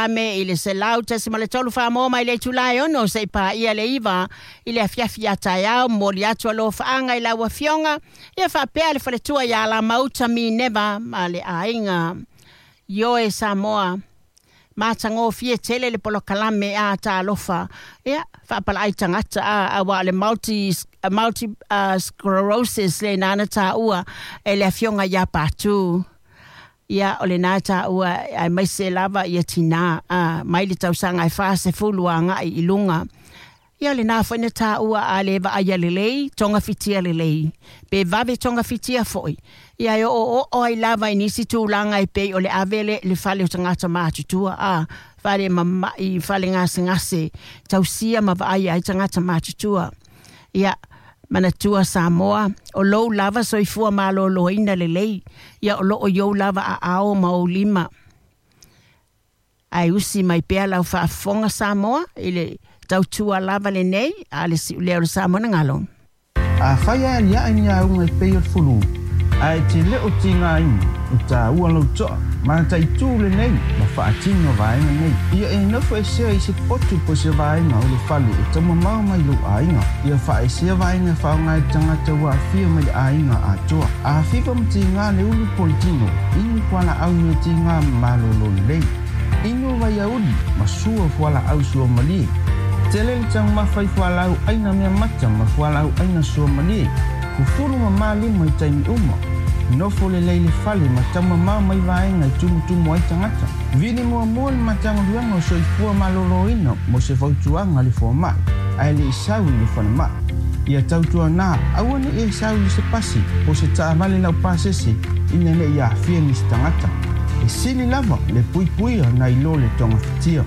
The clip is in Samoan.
polokalame i le 100.3 Samoa mai le itula e 6 seia paia le 9 i le afiafi a taeao. Momoli atu alofaaga i lau afioga ia faapea le faletua ia Lamauta Mineva ma le aiga. Ioe Samoa, matagofie tele le polokalame a talofa ia faapalaai tagata a auā o le multi sclerosis le nana tāua e le afioga iā Patu. Ia o lenā tāua aemaise lava ia tinā a mai le tausaga e 40 agaʻi i luga. Ia lenā foi na tāua a le vaaia lelei, togafitia lelei, pe vave togafitia foʻi. Ia e oooo ai lava i nisi tulaga e pei o le ave le fale o tagata matutua a fale mamaʻi, fale gasegase tausia ma vaaia ai tagata matutua. Ia manatua Samoa, o lou lava soifua malōlōina lelei ia o loo i ou lava aao ma ou lima. Ae usi mai pea lau faafofoga Samoa i le tautua lava lenei a le siulea o le Samoa na galo. Afai e aliae ni auga e pei o le fulu, ae e te le o tigaina, e taua lou toa, mataitū lenei ma faatino vaega nei. Ia e nofo esea i se potu po o se vaega o le fale e taumamao mai lou aiga. Ia faaesea vaega e faaaoga e le tagata ua aafia mai le aiga atoa. A fiva ma tiga le ulu po o le tino, inu fualaau meatiga ma malōlō lelei. Inu vaiauli ma sua fualaau suamalie. Tele le taumafa i fualaau aina mea mata ma fualaau aina suamalie. Fufulu ma lima i taimi uma. Nofo lelei le fale ma taumamao mai vaega e tumutumu ai tagata. Vili muamua le Matagaluega o Soifua Malōlōina mo se fautuaga a le fomai, ae le i sau i le falemai. Ia tautuanā, aua ne i e sau i se pasi po o se taavale laupasese ina ne i aafia nisi tagata. E sili lava le puipuia nai lo le togafitia.